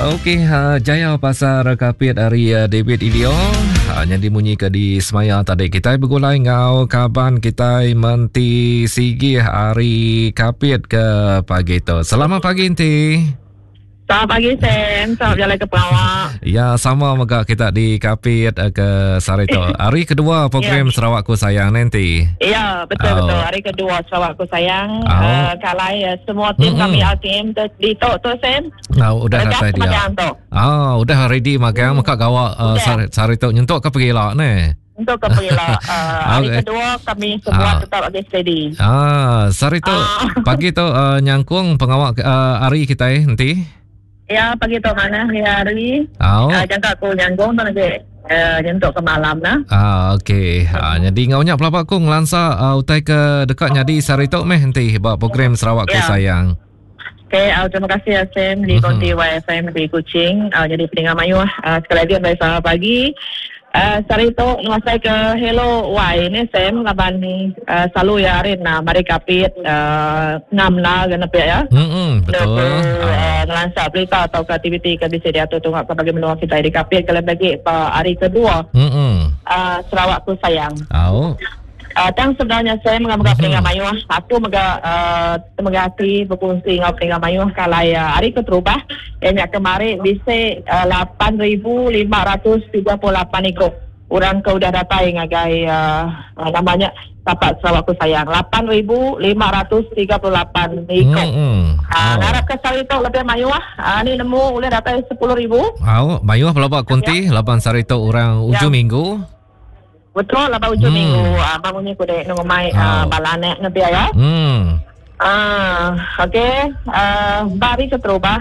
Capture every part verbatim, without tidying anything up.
Okey, uh, Jaya Pasar Kapit hari uh, David Ilio. Uh, jadi munyi ke di semaya tadi kita bergulai ngau kaban kita Menti Sigih hari Kapit ke pagi tu. Selamat pagi Enti. Selamat pagi Sam, selamat berjalan ke Perawak. Ya, sama mega kita di Kapit ke Sarito. Hari kedua program ya. Sarawakku Sayang nanti. Ya, betul oh. betul. Hari kedua Sarawakku Sayang. Oh. Uh, kalai uh, semua tim mm-hmm. kami L T M di tu tu Sam. Oh, udah datai dia. Ah, oh, udah ready magang hmm. maka gawak uh, Sarito nyentuk ke pergi lah ni. Untuk ke pergi lah. Uh, hari okay. kedua kami semua ah. tetap lagi steady. Ah, Sarito ah. pagi tu uh, nyangkung pengawak uh, hari kita eh, nanti. Ya, pagi tu mana hari. Oh. Uh, jangka aku nyanggung tu nanti uh, nyentuk ke malam nah. Ah, okey. Ah, jadi ngaunya pelabak aku ngelansa uh, utai ke dekat nyadi sehari tu meh nanti buat program Sarawakku ya. Sayang. Okey, uh, terima kasih Sam di Konti mm-hmm. Y F M di Kuching. Uh, jadi pendengar mayuh uh, sekali lagi baik selamat pagi. Uh, sehari tu ngasai ke Hello Y ni Sam laban uh, selalu ya hari na mari kapit uh, ngam lah kena pihak ya. Hmm betul. Uh, ngelansa berita atau aktiviti ke bisa diatur tunggu ke bagi menua kita di kapit kalau bagi uh, hari kedua. Hmm. Uh, Sarawakku Sayang. Oh. Uh, tang sebenarnya saya mengambil mm-hmm. pendengar mayuh. Aku mega uh, temegati berkongsi dengan pendengar mayuh kalau uh, hari keterubah yang kemarin bisa uh, lapan ribu lima ratus tiga puluh lapan ikut orang ke udah datang ngagai uh, namanya tapak Sarawakku Sayang lapan ribu lima ratus tiga puluh lapan ikut. Mm-hmm. Uh, oh. Ngarap ke sari tu lebih mayuh. Uh, ni nemu boleh datang sepuluh ribu. Oh, mayuh pelabak kunti ya. lapan sari tu orang ujung ya. minggu. Betul lah ujung hmm. minggu ah bangunnya kude nunggu mai oh. balanek nebi ya. Hmm. Ah, okey. Ah, bari keterubah.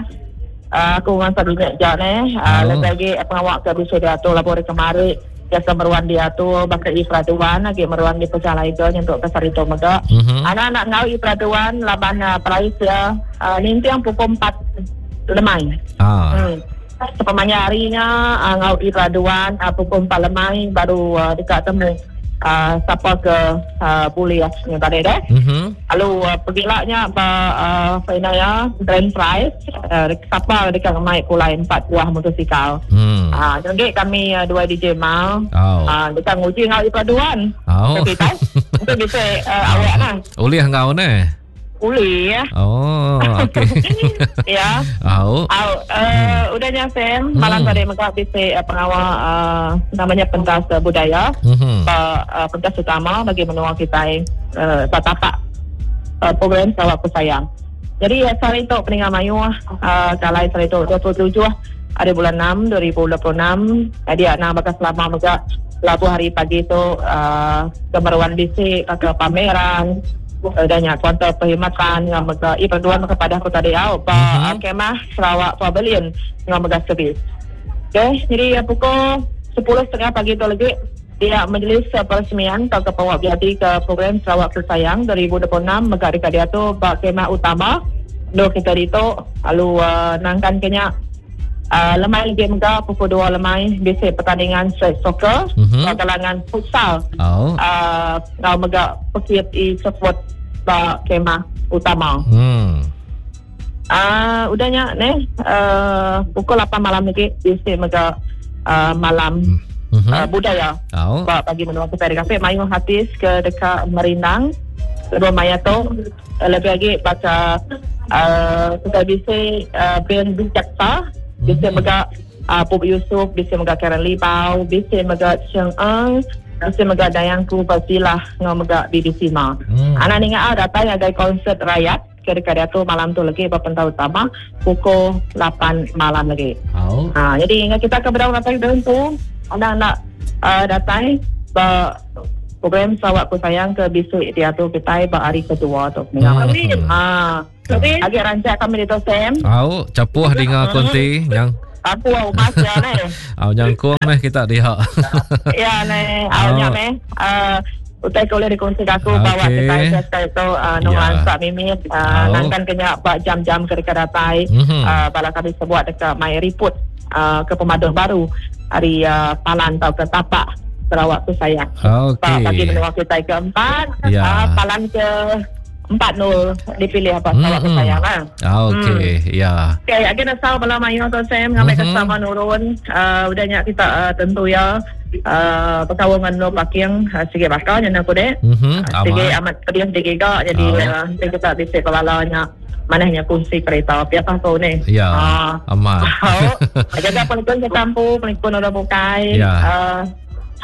Ah, aku ngan sadu nek jane. Ah, Oh. lagi pengawak ke bisa diatur labor kemari. Jasa meruan diatur bakal ifraduan lagi meruan di pejalai itu nyentuk ke sarito mega. Mm-hmm. Anak-anak ngau ifraduan laban uh, perais ya. Uh, nintiang pukul empat lemai. Ah. Hmm. Sepemanya harinya uh, ngau iraduan uh, pukul empat lemai baru uh, dekat temu uh, siapa ke uh, boleh ya tadi deh. Mm-hmm. Lalu uh, pergilaknya ba uh, final ya grand prize uh, siapa dekat mai pulai empat buah motosikal. Mm. Ah uh, jadi kami uh, dua D J mal. Oh. Uh, dekat nguji ngau iraduan. Oh. Tapi tahu itu bisa uh, awak nah. Oleh ngau ne. Uli ya. Oh, okey. Ya. Oh. Oh, uh, udahnya Sam, malam Hmm. tadi mereka bisa uh, pengawal uh, namanya pentas uh, budaya, mm-hmm. uh, uh, pentas utama bagi menua kita uh, tapak uh, program Sarawakku Sayang. Jadi uh, sehari itu pendengar mayu uh, kalau sehari itu dua puluh tujuh hari bulan enam dua ribu dua puluh enam, dia nak bakal selama mereka labu hari pagi itu uh, kemeruan bisik ke pameran adanya kuantar perkhidmatan yang mega i perduan kepada aku tadi au pa mm-hmm. kemah Sarawak Pavilion yang mega servis. Okey, jadi pukul sepuluh tiga puluh pagi tu lagi dia majlis peresmian atau kepawak biadi ke program Sarawakku Sayang dua ribu dua puluh enam mega dekat dia tu bak kemah utama do kita itu lalu uh, nangkan kenya uh, lemai lagi mega pukul dua lemai bisik pertandingan street soccer mm-hmm. kalangan futsal. Oh. Uh, ngau mega pekit i support bak kemah utama. Hmm. Ah, uh, udahnya ne uh, pukul lapan malam lagi bisik mega uh, malam mm-hmm. uh, budaya. Oh. Bak pagi menua kita di kafe mayu hatis ke dekat Merindang. Lebih maya tu lebih lagi baca uh, kita bisik uh, band Bijaksa, bisik Mm-hmm. mega uh, Pop Yusuf, bisik mega Karen Libau, bisik mega Cheng Eng, bisik mega Dayangku Bazilah ngau mega B B C Ma. Mm. Anak ninga ah datang agai konsert rakyat ke dekat dia tu malam tu lagi berpentau utama pukul lapan malam lagi. Oh. Ha, jadi ingat kita ke bedau datang tu anak-anak uh, datang ba program Sarawakku Sayang ke besok dia tu kita ba hari kedua tu. Hmm. Ah. Agak rancak kami di tu Sam. Au, capuh dengar konti yang aku au mas ya ne. Au nyangkung meh kita diha. Ya ne, au nya meh. Uh, utai boleh dikongsi aku okay. bawa kita sekali tu uh, nung Ya. lansak mimit uh, nangkan kena bak jam-jam ke dekat datai mm-hmm. uh, bala kami sebuat dekat my report uh, ke pemadun baru hari uh, Palan atau ke Tapak Sarawakku Sayang. Okey. Bagi menua kita keempat, Ya. uh, Palan ke empat nol dipilih apa Sarawak mm-hmm. Sayang lah. Okey, hmm. ya. Okey, lagi nasau bala mayu tu Sam ngambil mm-hmm. sama nurun. Uh, udahnya kita uh, tentu ya uh, berkawal dengan no parking uh, sikit bakal jangan aku dek. Mm-hmm. Uh, sikit amat pedih digiga jadi oh. uh, kita bisa kebalanya manahnya kunci kereta api apa kau ni. Ya. Uh, amat. Jaga pelipun ke kampung, pelipun orang bukai. Ya. Uh,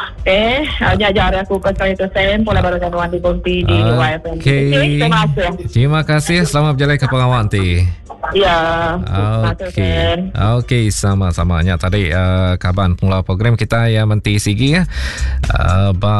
Okey, hanya ajar aku ke saya tu Sam, pola baru januan di Bonti di Y F M. Okey. Terima kasih. Terima kasih, selamat berjalan ke pengawal nanti. Ya. Okey. Okey, sama-sama nya tadi uh, kaban pengelola program kita yang Menti Sigi ya. Uh, ba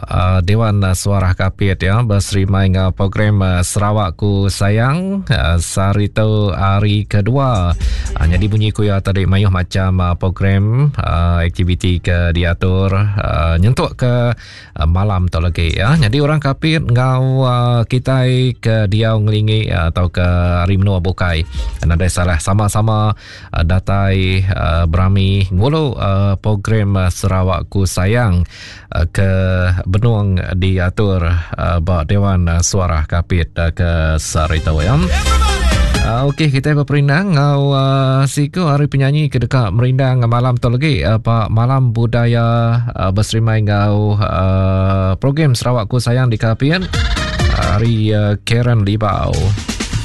uh, Dewan Suara Kapit ya berserima dengan program uh, Sarawakku Sayang uh, Sarito hari kedua. Uh, jadi bunyi kuya tadi mayuh macam uh, program uh, aktiviti ke diatur uh, nyentuk ke uh, malam tu lagi ya. Jadi orang Kapit ngau uh, kita ke dia ngelingi uh, atau ke hari menua bukai. Nadai salah sama-sama uh, datai uh, berami ngulu uh, program uh, Sarawakku Sayang uh, ke Benung diatur uh, ba Dewan uh, Suara Kapit uh, ke Sarito ya. Uh, Okey, kita berperindang ngau uh, siku hari penyanyi ke dekat merindang malam tu lagi uh, Pak Malam Budaya uh, berserimai ngau uh, program Sarawakku Sayang di Kapit hari uh, Karen Libau.